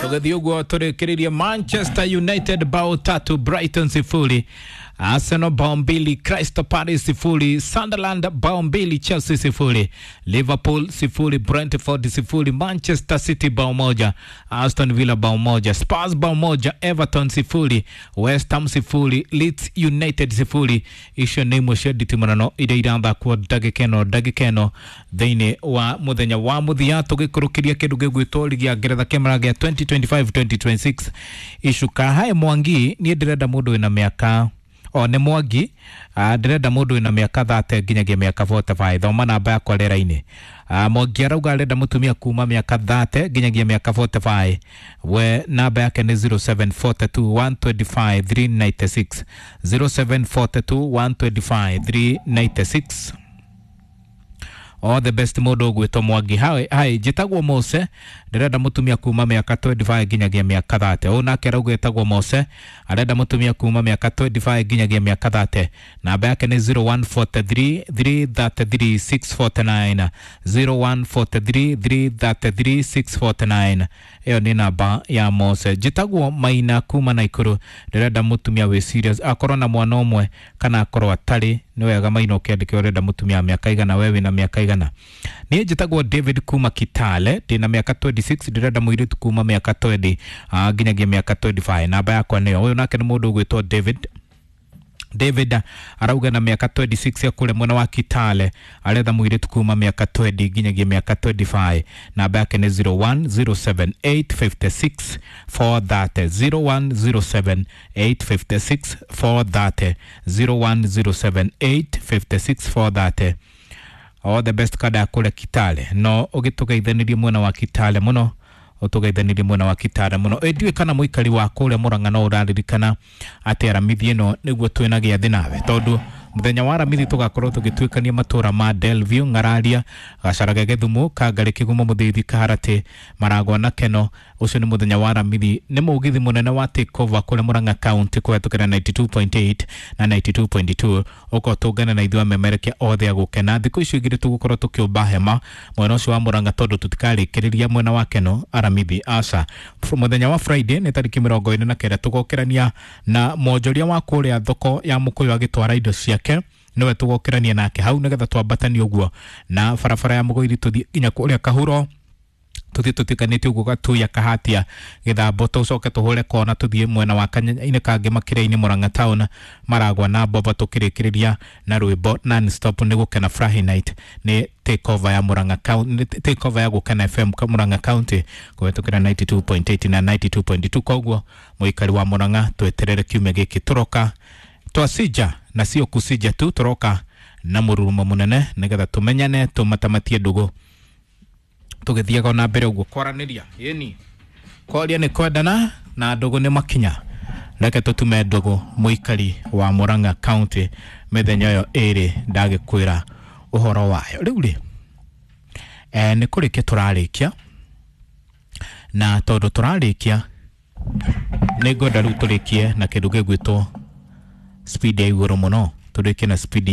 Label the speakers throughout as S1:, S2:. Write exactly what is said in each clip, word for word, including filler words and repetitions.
S1: Tũgĩthiĩ ũguo tũrĩkĩrĩrie Manchester United bao tatu Brighton sifuri, Arsenal bao mbili Crystal Palace sifuri, Sunderland bao mbili Chelsea sifuri, Liverpool sifuri Brentford sifuri, Manchester City bao moja Aston Villa bao moja, Spurs bao moja Everton sifuri, West Ham sifuri, Leeds United sifuri. Icio nĩ imwe cia nditimũrano iria irathakwo ndagĩka ĩno ndagĩka ĩno thĩinĩ wa mũthenya wa mũthia, tũgĩkũrũkĩria kĩndũ gĩgwĩtwo ligi ya Ngeretha kĩmera gĩa twenty twenty-five twenty twenty-six. Icuka hae Mwangi, niĩ ndĩrenda mũndũ wĩna mĩaka o nĩ Mwangi, ah, ndĩrenda mũndũ wĩna mĩaka thate nginyagia mĩaka forty-five. Thoma namba yakwa rĩera-inĩ. Ah, Mwangi arauga arenda mũtumia kuma mĩaka thate nginyagia mĩaka forty-five. We namba yake nĩ zero seven four two one two five three nine six, zero seven four two one two five three nine six. All the best mũndũ ũgwĩtwo Mwangi. Hai, hai, njĩtagwo Mose, ndĩrenda mũtumia kuma mĩaka twenty-five nginyagia mĩaka thate. Ũyũ nake arauga etagwo Mose, arenda mũtumia kuma mĩaka twenty-five nginyagia mĩaka thate. Namba yake nĩ zero one four three three three three six four nine, zero one four three three three three six four nine. Ĩyo nĩ namba ya Mose. Njĩtagwo Maina kuma Naikuru, ndĩrenda mũtumia wĩ serious, akorwo na mwana ũmwe kana akorwo atarĩ. Nĩ wega Maina ũkĩandĩke ũrenda mũtumia wa mĩaka igana, we wĩna mĩaka igana. Niĩ njĩtagwo David kuma Kitale, ndĩna mĩaka twenty-six, ndĩrenda mũirĩtu kuma mĩaka twenty, ah, nginyagia mĩaka twenty-five. Namba yakwa nĩyo. Ũyũ nake nĩ mũndũ ũgwĩtwo David. David arauga na mĩaka twenty-six ya kũrĩa mwena wa Kitale, aretha mũirĩtu kuma mĩaka twenty nginyagia mĩaka twenty-five. Namba yake nĩ zero one zero seven eight five six four thirty, zero one zero seven eight five six four thirty, zero one zero seven eight five six four thirty. All the best kada ya kũrĩa Kitale. No ũgĩtũgeithanirie mwena wa Kitale mũno, ũtũgeithanirie mwena wa Kitale mũno. Ĩ ndiũĩ kana mũikari wa kũrĩa Mũrang'a no ũraririkana atĩ Aramithi ĩno nĩguo twĩna gĩathĩ nawe, tondũ mũthenya wa Aramithi tũgakorwo tũgĩtuĩkania matũra ma Delview, Ng'araria, Gacaraga, Gĩthumo, Kangarĩ, Kĩgumo, Mũthithi, Kaharatĩ, Maragwa na Keno. Ũcio nĩ mũthenya wa Aramithi, nĩ mũgithi mũnene wa takeover kũrĩa Mũrang'a County kũhetũkĩra ninety-two point eight na ninety-two point two. Ũkorwo tũngane na ithuĩ amemerekia othe a gũkena. Thikũ icio igĩrĩ tũgũkorwo tũkĩũmba hema mwena ũcio wa Mũrang'a, tondũ tũtikarĩkĩrĩria mwena wa Keno Aramithi, aca. Mũthenya wa Friday nĩ tarĩki mĩrongo ĩna na kenda tũgokĩrania na mwonjoria wa kũrĩa thoko ya Mũkũyũ agĩtwara indo ciake, nĩwe tũgokĩrania nake hau nĩgetha twambatanie ũguo na barabara ya Mũgũiri tũthiĩ nginya kũrĩa Kahuro, tũthiĩ tũtuĩkanĩtie ũguo Gatuya, Kahatia, Gĩthambo, tũcoke tũhũre kona tũthiĩ mwena wa Kanyanya-inĩ kangĩ Makĩria-inĩ, Mũrang'a Town, Maragwa na Boba, tũkĩrĩkĩrĩria na rwĩmbo non-stop nĩ gũkena Friday night nĩ takeover ya Mũrang'a County, takeover ya Gũkena F M Mũrang'a County kũhetũkĩra ninety-two point eight na ninety-two point two. Koguo mũikari wa Mũrang'a tweterere kiumia gĩkĩ tũroka twacija na sio kucija tu, tũroka na mũrurumo mũnene nĩgetha tũmenyane, tũmatamatie ndũgũ tũgĩthiaga ona mbere ũguo kwaranĩria. Ĩni kwaria nĩ kwendana na ndũgũ nĩ makinya. Reke tũtume ndũgũ mũikari wa Mũrang'a County mĩthenya ĩyo ĩrĩ ndagĩkwĩra ũhoro wayo. Rĩu rĩ, eh, nĩ kũrĩkia tũrarĩkia, na tondũ tũrarĩkia nĩ ngwenda rĩu tũrĩkie na kĩndũ gĩgwĩtwo speed ya igũrũ mũno, tũrĩkie na speed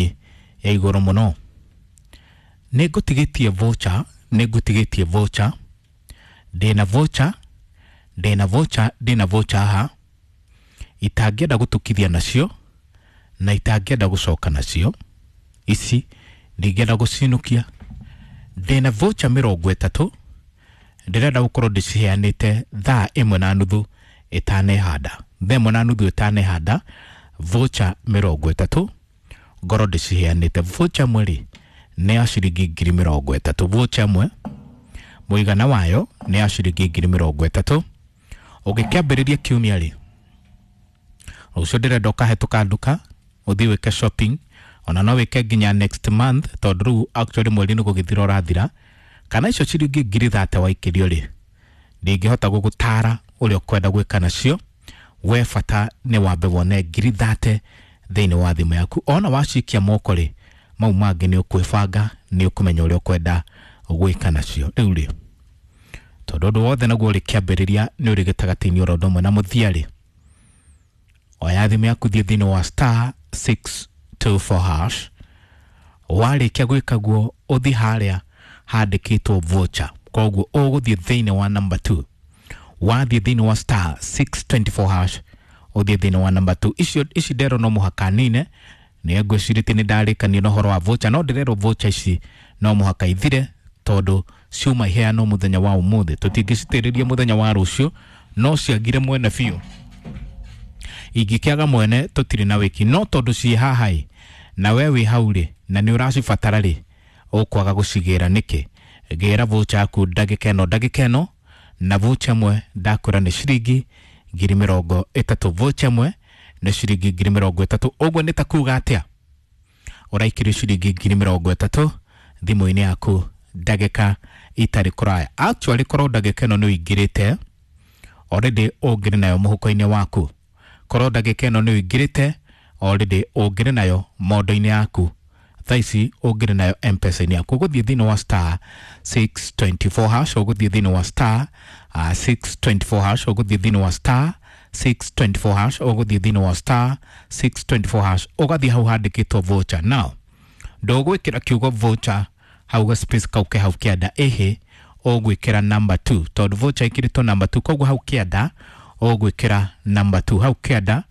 S1: ya igũrũ mũno. Nĩ ngũtigĩtie voucher, nĩ ngũtigĩtie voucher, ndĩna voucher, ndĩna voucher, ndĩna voucher haha itangĩenda gũtukithia nacio na itangĩenda gũcoka nacio, ici ndingĩenda gũcinũkia. Ndĩna voucher mĩrongo ĩtatũ, ndĩrenda gũkorwo ndĩciheanĩte thaa ĩmwe na nuthu ĩtanehanda, thaa ĩmwe na nuthu ĩtanehanda, voucher mĩrongo ĩtatũ ngorwo ndĩciheanĩte. Voucher ĩmwe rĩ nĩ ya ciringi ngiri mĩrongo ĩtatũ, voucher ĩmwe mũigana wayo nĩ ya ciringi ngiri mĩrongo ĩtatũ. Ũngĩkĩambĩrĩria kiumia rĩ, rũciũ ndĩrenda ũkahĩtũka nduka ũthiĩ wĩke shopping, ona no wĩke nginya next month, tondũ rĩu actually mweri nĩ gũgĩthira ũrathira. Kana icio ciringi ngiri thate waikĩrio rĩ, ndingĩhota gũgũtara ũrĩa ũkwenda gwĩka nacio. We bata nĩ wambe wone ngiri thate thĩinĩ wa thimũ yaku. Ona wacikia moko rĩ, mau mangĩ nĩ ũkwĩbanga, nĩ ũkũmenya ũrĩa ũkwenda gwĩka nacio. Rĩu rĩ, tondũ ũndũ wothe naguo ũrĩ kĩambĩrĩria nĩ ũrĩ gĩtagatĩ-inĩ oro ũndũ ũmwe na mũthia rĩ, oya thimũ yaku thiĩ thĩinĩ wa star six two four hash. Warĩkia gwĩka guo ũthiĩ harĩa handĩkĩtwo voucher, koguo ũgũthiĩ thĩinĩ wa number two. Wathiĩ thĩinĩ wa star six twenty-four hash, ũthiĩ thĩinĩ wa number two. Icio ici nderwo no mũhaka nine, nĩ ngwĩcirĩtie nĩ ndarĩkania na ũhoro wa voucher, no ndĩrerwo voucher ici no mũhaka ithire tondũ ciuma iheanwo mũthenya wa ũmũthĩ, tũtingĩcitĩrĩria mũthenya wa rũciũ, no ciagire mwene biũ. Ingĩkĩaga mwene tũtirĩ na wĩki, no tondũ ciĩ haha ĩ, na we wĩ hau rĩ, na nĩ ũracibatara rĩ, ũkwaga gũcigĩra nĩkĩ? Gĩra voucher yaku ndagĩka ĩno ndagĩka ĩno, na voucher ĩmwe ndakwĩra nĩ ciringi ngiri mĩrongo ĩtatũ. Voucher ĩmwe nĩ ciringi ngiri mĩrongo ĩtatũ. Ũguo nĩ ta kuga atĩa? Ũraikĩrio ciringi ngiri mĩrongo ĩtatũ thimũ-inĩ yaku ndagĩka itarĩ kũraya. Actually korwo ndagĩka ĩno nĩ ũingĩrĩte already, ũngĩrĩ nayo mũhuko-inĩ waku. Korwo ndagĩka ĩno nĩ ũingĩrĩte already, ũngĩrĩ nayo mondo-inĩ yaku thaa ici, ũngĩrĩ nayo M-Pesa-inĩ yaku. Ũgũthiĩ thĩinĩ wa star six twenty-four hash, ũgũthiĩ thĩinĩ wa star uh, six twenty-four hash, ũgũthiĩ thĩinĩ wa star six twenty-four hash, ũgũthiĩ thĩinĩ wa star six twenty-four hash, ũgathiĩ hau handĩkĩtwo voucher. Now ndũgwĩkĩra kiugo voucher hau ga space kau ke hau kĩanda, ĩhĩ, ũgwĩkĩra number two, tondũ voucher ĩkĩrĩtwo number two, koguo hau kĩanda ũgwĩkĩra number two, hau kĩanda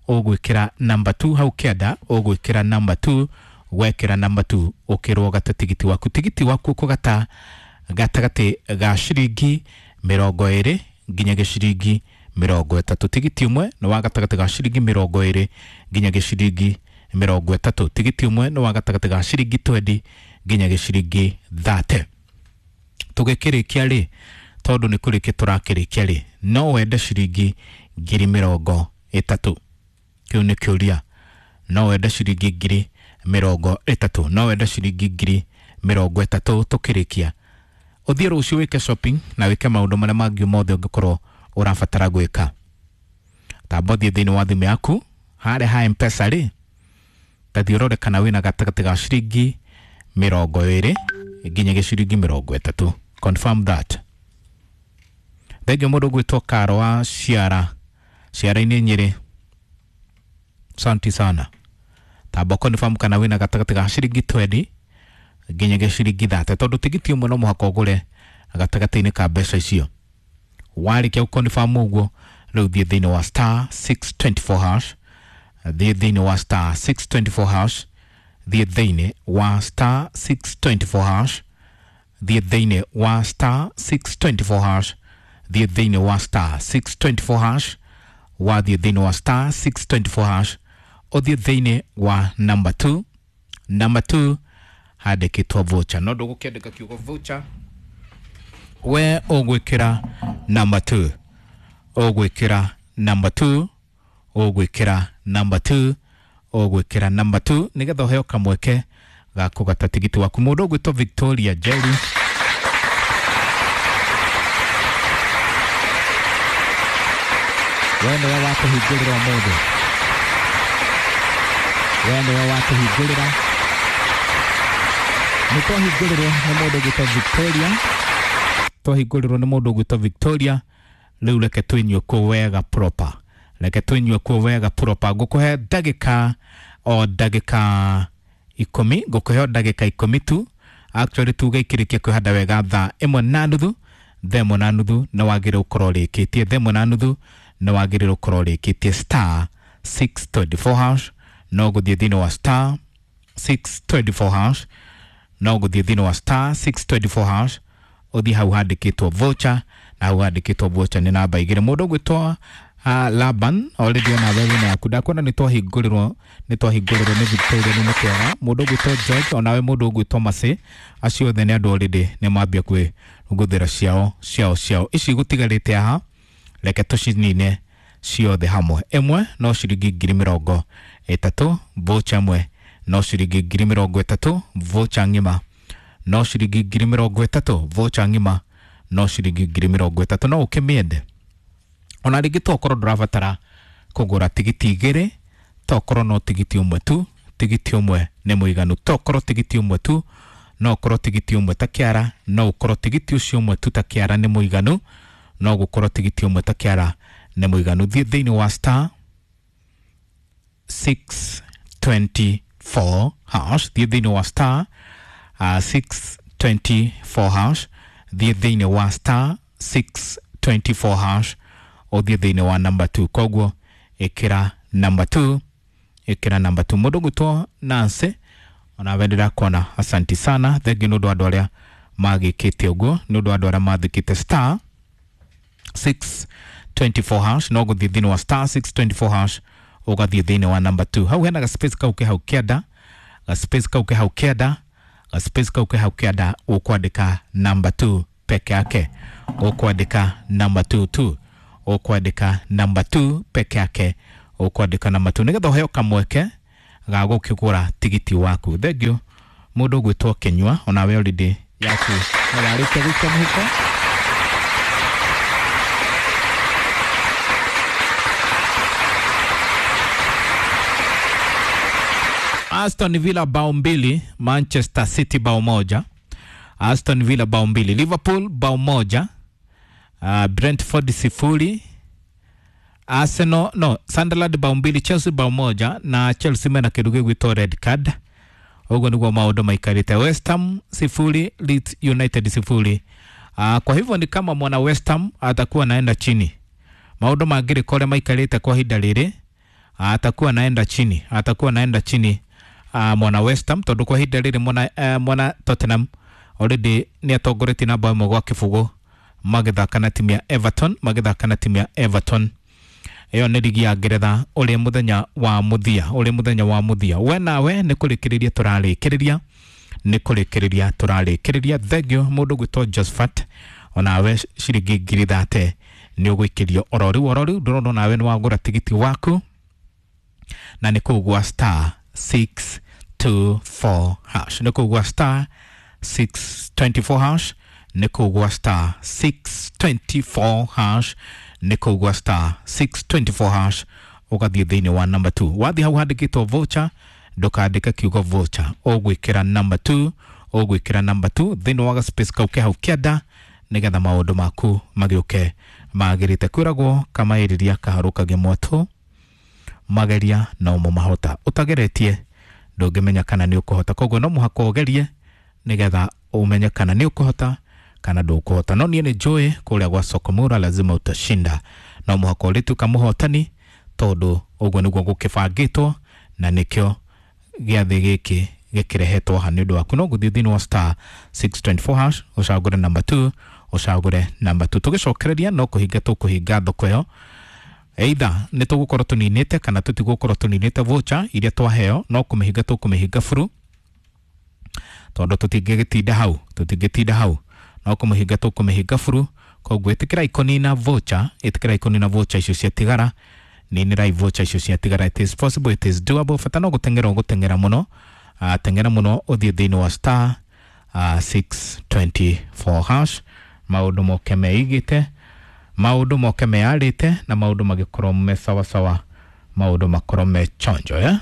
S1: ũgwĩkĩra number two, hau kĩanda ũgwĩkĩra number two. Wekĩra number two ũkĩrwo gata tigiti waku. Tigiti waku ũkũgata gatagatĩ ga ciringi mĩrongo ĩrĩ nginya gĩciringi mĩrongo ĩtatũ. Tigiti ũmwe nĩ wa gatagatĩ ga ciringi mĩrongo ĩrĩ nginya gĩciringi mĩrongo ĩtatũ. Tigiti ũmwe nĩ wa gatagatĩ ga ciringi twenty nginya gĩciringi thirty. Tũgĩkĩrĩkia rĩ, tondũ nĩ kũrĩkia tũrakĩrĩkia rĩ, no wende ciringi ngiri mĩrongo ĩtatũ? Kĩu nĩ kĩũria. No wende ciringi ngiri mĩrongo ĩtatũ? No wende ciringi ngiri mĩrongo ĩtatũ tũkĩrĩkia? Ũthiĩ rũciũ wĩke shopping na wĩke maũndũ marĩa mangĩ mothe ũngĩkorwo ũrabatara gwĩka. Tamba ũthiĩ thĩinĩ wa thimũ yaku harĩa ha M-Pesa rĩ, ta thiĩ ũrore kana wĩna gatagatĩ ga ciringi mĩrongo ĩrĩ nginya gĩciringi mĩrongo ĩtatũ. Confirm that. Thengiũ mũndũ ũgwĩtwo Karo wa Ciara, Ciara-inĩ Nyĩrĩ, asante sana. Tamba confirm kana wĩna gatagatĩ ga ciringi twenty nginya gĩciringi thirty, tondũ tigiti ũmwe no mũhaka ũgũre gatagatĩ-inĩ ka mbeca icio. Warĩkia gũ-confirm ũguo, rĩu thiĩ thĩinĩ wa star six twenty-four hash, thiĩ thĩinĩ wa star six twenty-four hash, thiĩ thĩinĩ wa star six twenty-four hash, thiĩ thĩinĩ wa star six twenty-four hash, thiĩ thĩinĩ wa star six twenty-four hash. Wathiĩ thĩinĩ wa star six twenty-four hash, ũthiĩ thĩinĩ wa number two, number two handĩkĩtwo voucher, no ndũgũkĩandĩka kiugo voucher, we ũgwĩkĩra number two, ũgwĩkĩra number two, ũgwĩkĩra number two, ũgwĩkĩra number two, nĩgetha ũheo kamweke ga kũgata tigiti waku. Mũndũ ũgwĩtwo Victoria Jerry, we nĩwe wakũhingũrĩra ũmũthĩ, we nĩwe wakũhingũrĩra. Nĩ twahingũrĩrwo nĩ mũndũ ũgwĩtwo Victoria, twahingũrĩrwo nĩ mũndũ ũgwĩtwo Victoria. Rĩu reke twĩnyue kuo wega proper, reke twĩnyue kuo wega proper. Ngũkũhe ndagĩka o ndagĩka ikũmi, ngũkũhe o ndagĩka ikũmi tu. Actually tuge ikĩrĩkia kwĩhanda wega thaa ĩmwe na nuthu, thaa ĩmwe na nuthu nĩ wagĩrĩirwo gũkorwo ũrĩkĩtie, thaa ĩmwe na nuthu nĩ wagĩrĩirwo gũkorwo ũrĩkĩtie star six twenty-four hash. No gũthiĩ thĩinĩ wa star six twenty-four hash, no gũthiĩ thĩinĩ wa star six twenty-four hash, ũthiĩ hau handĩkĩtwo voucher, na hau handĩkĩtwo voucher nĩ namba igĩrĩ. Mũndũ ũgwĩtwo uh, Laban, already ona wewe wĩna yaku, ndakuona nĩ twahingũrĩrwo, nĩ twahingũrĩrwo nĩ Victoria, nĩ mũkĩaga. Mũndũ ũgwĩtwo George, onawe mũndũ ũgwĩtwo Mercy, acio othe nĩ andũ already nĩ mambia kwĩgũthĩra ciao ciao ciao. Ici gũtigarĩte haha, reke tũcinine ciothe hamwe. Ĩmwe no ciringi ngiri mĩrongo ĩtatũ, voucher ĩmwe no ciringi ngiri mĩrongo ĩtatũ, voucher ng'ima no ciringi ngiri mĩrongo ĩtatũ, voucher ng'ima no ciringi ngiri mĩrongo ĩtatũ. No ũkĩmĩende ona rĩngĩ, to ũkorwo ndũrabatara kũgũra tigiti igĩrĩ, to ũkorwo no tigiti ũmwe tu, tigiti ũmwe nĩ mũiganu. To ũkorwo tigiti ũmwe tu, no ũkorwo tigiti ũmwe ta kĩara, no ũkorwo tigiti ũcio ũmwe tu ta kĩara nĩ mũiganu, no gũkorwo tigiti ũmwe ta kĩara nĩ mũiganu. Thiĩ thĩinĩ wa star six twenty-four hash, thiĩ thĩinĩ wa star uh, six twenty-four hash, thiĩ thĩinĩ wa star six twenty-four hash ũthiĩ thĩinĩ wa number two. Koguo ĩkĩra number two, ĩkĩra number two. Mũndũ gwĩtwo Nancy, onawe ndĩrakuona, asanti sana, thengiũ nĩ ũndũ wa andũ arĩa magĩkĩte ũguo, nĩ ũndũ wa andũ arĩa mathĩkĩte star six twenty-four hash. No gũthiĩ thĩinĩ wa star six twenty-four hash ũgathiĩ thĩinĩ wa number two. Hau hena ga space kau ke hau kĩanda, ga space kau ke hau kĩanda, ga space kau ke hau kĩanda, ũkwandĩka number two peke yake, ũkwandĩka number two tu, ũkwandĩka number two peke yake, ũkwandĩka number two nĩgetha ũheo kamweke ga gũkĩgũra tigiti waku. Thengiũ mũndũ ũgwĩtwo Kĩnyua, onawe already yaku nĩ warĩkia gũikia mũhuko. Aston Villa bao mbili, Manchester City bao moja. Aston Villa bao mbili, Liverpool bao moja, uh, Brentford sifuri, Arsenal no Sunderland bao mbili, Chelsea bao moja, na Chelsea mena kindu gigwitwo red card. Uguo niguo maundu maikarite. West Ham sifuri, Leeds United sifuri. Uh, kwa hivyo ni kama mwana West Ham atakuwa naenda chini. Maundu mangĩrĩka ũrĩa maikarĩte kwa ihinda rĩrĩ, atakuwa naenda chini, atakuwa naenda chini uh, mwana West Ham, tondu kwa ihinda rĩrĩ mwana, uh, mwana Tottenham already nĩ atongoretie na bao ĩmwe gwa kĩbũgũ magĩthaka na timu ya Everton, magĩthaka na timu ya Everton. Ĩyo nĩ ligi ya Ngeretha ũrĩ mũthenya wa mũthia, ũrĩ mũthenya wa mũthia. We nawe nĩ kũrĩkĩrĩria tũrarĩkĩrĩria, nĩ kũrĩkĩrĩria tũrarĩkĩrĩria. Thengiũ mũndũ gwĩtwo Josephat, onawe ciringi ngiri thate nĩ ũgũikĩrio oro rĩu oro rĩu. Ndĩrona onawe nĩ wagũra tigiti waku na nĩ kũu gwa star six two four hash, nĩ kũu gwa star six twenty-four hash, nĩ kũu gwa star six twenty-four hash, nĩ kũu gwa star six twenty-four hash ũgathiĩ thĩinĩ wa number two. Wathiĩ hau handĩkĩtwo voucher, ndũkandĩke kiugo voucher, ũgwĩkĩra number two, ũgwĩkĩra number two thĩinĩ wa space kau ke hau kĩanda, nĩgetha maũndũ maku magĩũke magĩrĩte. Kwĩragwo kamaĩrĩria kaharũkagia mwatũ, mageria no mo mahota, ũtageretie ndũngĩmenya kana nĩ ũkũhota. Koguo no mũhaka ũgerie nĩgetha ũmenye kana nĩ ũkũhota kana ndũkũhota. No niĩ nĩ njũĩ kũrĩa gwa Sokomura lazima utashinda, no mũhaka ũrĩtuĩka mũhotani, tondũ ũguo nĩguo gũkĩbangĩtwo na nĩkĩo gĩathĩ gĩkĩ gĩkĩrehetwo haha nĩ ũndũ waku. No gũthiĩ thĩinĩ wa star six twenty-four hash ũcagũre number two, ũcagũre number two. Tũgĩcokereria no kũhinga tũkũhinga thoko ĩyo, either nĩ tũgũkorwo tũninĩte kana tũtigũkorwo tũninĩte voucher iria twaheo, no kũmĩhinga tũkũmĩhinga buru, tondũ tũtingĩgĩtinda hau, tũtingĩtinda hau, no kũmĩhinga tũkũmĩhinga buru. Koguo ĩtĩkĩrai kũnina voucher, ĩtĩkĩrai kũnina voucher icio ciatigara, ninĩrai voucher icio ciatigara. It is possible, it is doable. Bata no gũteng'era ũgũteng'era mũno, uh, teng'era mũno ũthiĩ thĩinĩ wa star uh, six twenty-four hash, maũndũ moke meigĩte, maũndũ moke meyarĩte, na maũndũ magĩkorwo me sawasawa, maũndũ makorwo me chonjo, eh?